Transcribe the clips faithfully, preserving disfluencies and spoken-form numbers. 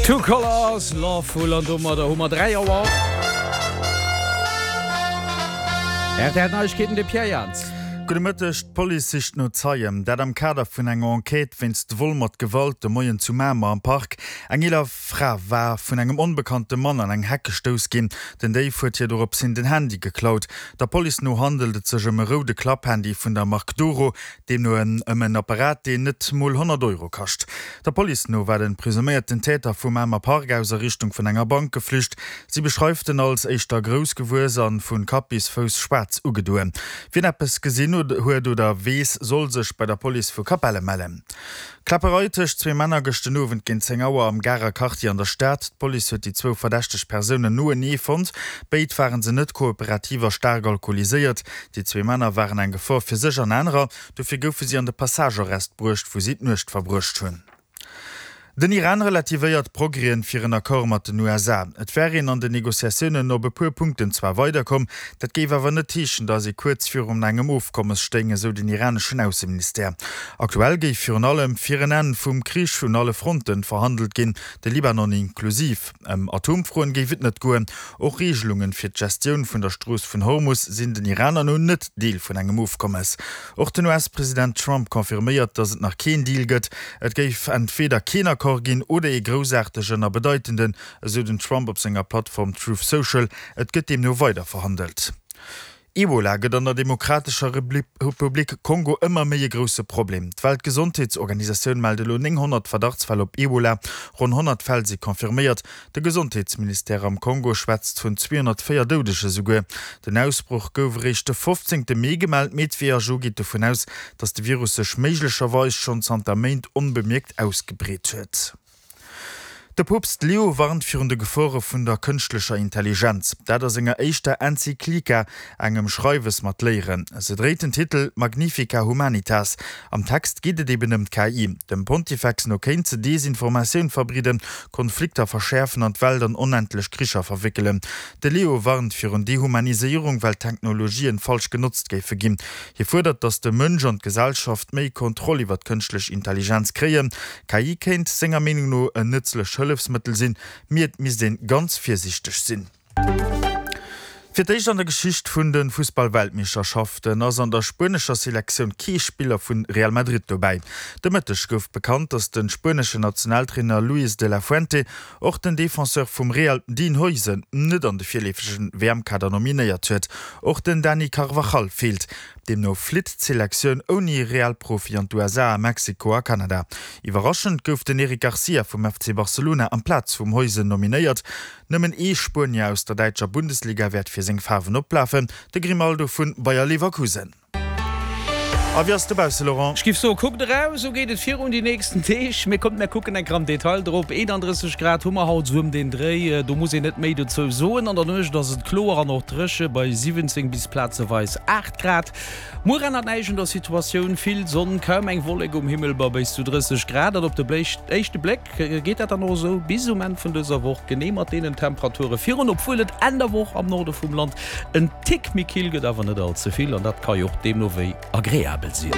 Two Colors, Lovefool an domadder hu mer dräi Auer. R T L Neiegkeeten, de Pierre Jans. Gudde Mëtteg, D'Police sicht no Zeien, dat am Kader vun enger Enquête wéinst Vol mat Gewalt de Moien zu Mamer am Park. Eng eeler Fra war vun engem onbekannte Mann an eng Heck gestouss ginn. Den Déif huet hir dorops hin den Handy geklaut. Der Police no handelt et sech ëm e roude Klapphandy vun der Mark Doro, deemno ëm en Apparat, deen net mol honnert Euro kascht. Der Police no war de presuméierten Täter vum Mamer Park aus a Richtung vun enger Bank geflücht. Si beschreift en als éischter grouss gewuess an vu Kapp bis Fouss schwaarz ugedoen. Wien eppes gesinn huet oder weess, soll sech bei der Police vu Capelle mellen. Kläpperei tëscht zwee Männer gëscht den Owend géint zéng Auer am Garer Quartier an der Stad. D'Police huet déi zwou verdächteg Persounen noenee fonnt. Béid ware se net kooperativ a staark alkoholiséiert. Déi zwee Männer waren eng Gefor fir sech an anerer, dofir goufe si an de Passage-Arrest bruecht, wou si d'Nuecht verbruecht hunn. Den Iran relativéiert d'Progrèsen fir en Accord mat den U S A. Et wär een an den Negociatiounen op e puer Punkten zwar weiderkomm, dat géif awer net heeschen, datt ee kuerz virun engem Ofkommes stéing, esou den iraneschen Ausseministère. Aktuell géif virun allem fir en Enn vum Krich un alle Fronten verhandelt ginn, de Libanon inklusiv. Ëm Atomfroen géif et net goen. Och Reegelungen fir d'Gestioun vun der Strooss vun Hormus sinn den Iraner no net Deel vun engem Ofkommes. Och den U S-President Trump confirméiert, datt et nach keen Deal gëtt. Et géif entweder keen Accord ginn oder ee groussaartegen a bedeitenden, esou den Trump op senger Plattform Truth Social. Et gëtt deemno weider verhandelt. Ebola gëtt an der Demokratescher Republik Kongo ëmmer méi e grousse Problem. D'Weltgesondheetsorganisatioun mellt elo nénghonnert Verdachtsfäll op Ebola, ronn honnert Fäll si confirméiert. De Gesondheetsministère am Kongo schwätzt vun zweehonnertvéier Doudege souguer. Den Ausbroch gouf eréischt de fofzéngte Mee gemellt, mee d'W H O geet dovun aus, datt de Virus sech méiglecherweis schonn zanter Méint onbemierkt ausgebreet huet. De Poopst Leo warnt virun de Gefore vun der kënschtlecher Intelligenz. Dat a senger éischter Enzyklika, engem Schreiwes mat Léieren. Se dréit den Titel Magnifica Humanitas. Am Text geet et eben ëm d'K I. Dem Pontifex no kéint se Desinformatioun verbreeden, Konflikter verschäerfen an d'Welt an onendlech Kricher verwéckelen. De Leo warnt virun Dehumaniséierung, well d'Technologien falsch genotzt géife ginn. Hie fuerdert, datt de Mënsch an d'Gesellschaft méi Kontroll iwwer d'kënschtlech Intelligenz kréien. K I kéint senger Meenung no en nëtzlecht Hëllefsmëttel sinn, mee et misst ee ganz virsiichteg sinn. Fir d'éischt an der Geschicht vun de Fussballweltmeeschterschaften ass an der spuenescher Selektioun kee Spiller vu Real Madrid dobäi. De Mëtteg gouf bekannt, datt de spueneschen Nationaltrainer Luis de la Fuente och den Defenseur vum Real Dean Huijsen net an de virleefege W M-Kader nominéiert huet. Och den Dani Carvajal feelt. Deemno flitt d'Selektioun ouni Real-Profi an d'U S A, Mexiko a Kanada. Iwwerraschend gouf den Eric Garcia vum F C Barcelona amplaz vum Huijsen nominéiert. Nëmmen ee Spuenier aus der däitscher Bundesliga wäert fir seng Faarwen oplafen, de Grimaldo vu Bayer Leverkusen. A wéi ass et dobausse, Laurent? Ech giff soen, kuckt eraus, sou geet et virun déi nächsten Deeg. Mee kommt, mir kucken eng Kéier am Detail drop. eenandrësseg Grad hu mer haut sou ëm den Dréi, do muss een net méi dozou soen. An der Nuecht ass et kloer an och dréche bei siwwenzéng bis plazeweis aacht Grad. Muer ännert näischt un der Situatioun, vill Sonn, kaum eng Wollek um Himmel bei bis zu drësseg Grad. An op de éischte Bléck geet dat dann och esou bis um Enn vun dëser Woch genee mat deenen Temperature virun, obwuel et Enn der Woch am Norde vum Land en Tick méi kill gëtt, awer net all ze vill an dat ka jo och deemno wéi agreabel sinn.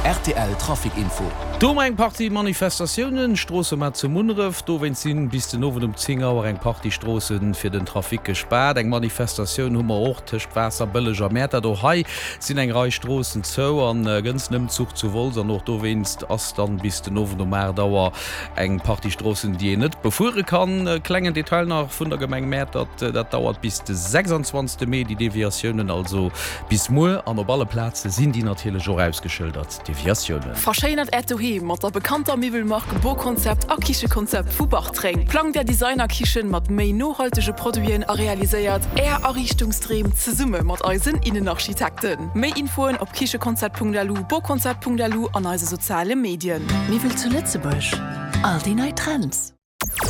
R T L Trafic Info. Do hu mer eng Partie Manifestatiounen, Stroossemaart zu Munneref. Dowéinst sinn bis den Owend um zéng Auer eng Partie Stroosse fir den Trafic gespaart. Eng Manifestatioun hu mer och tëscht Waasserbëlleg a Mäertert. Och hei sinn eng Rei Stroossen zou an gënz den Ëmzuch zu Wolz. An och dowéinst ass dann bis den Owend um aacht Auer eng Partie Stroossen, déi een net befuere kann. Klengen Detail nach vun der Gemeng Mäertert, dat dauert bis de sechsundzwanzegste Mee, déi Deviatiounen, also bis muer. An op alle Plaze sinn déi natierlech och ausgeschëldert, Deviatiounen. Verschéinert Äert Doheem mat der bekannter Miwwelmark Boconcept a Kichekonzept vu Bartreng. Plangt Är Designerkichen mat méi nohaltege Produiten a realiséiert Är Ariichtungsdreem zesumme mat eisen Innenarchitekten. Méi Infoen op kichekonzept Punkt L U, boconcept Punkt L U an eise soziale Medien. Miwwel zu Lëtzebuerg, all déi nei Trends.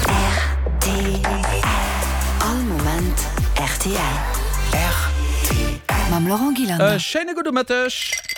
R T L. All Moment R T L. R T L. Mam Laurent E Gillander. Schéine gudde Mëtteg.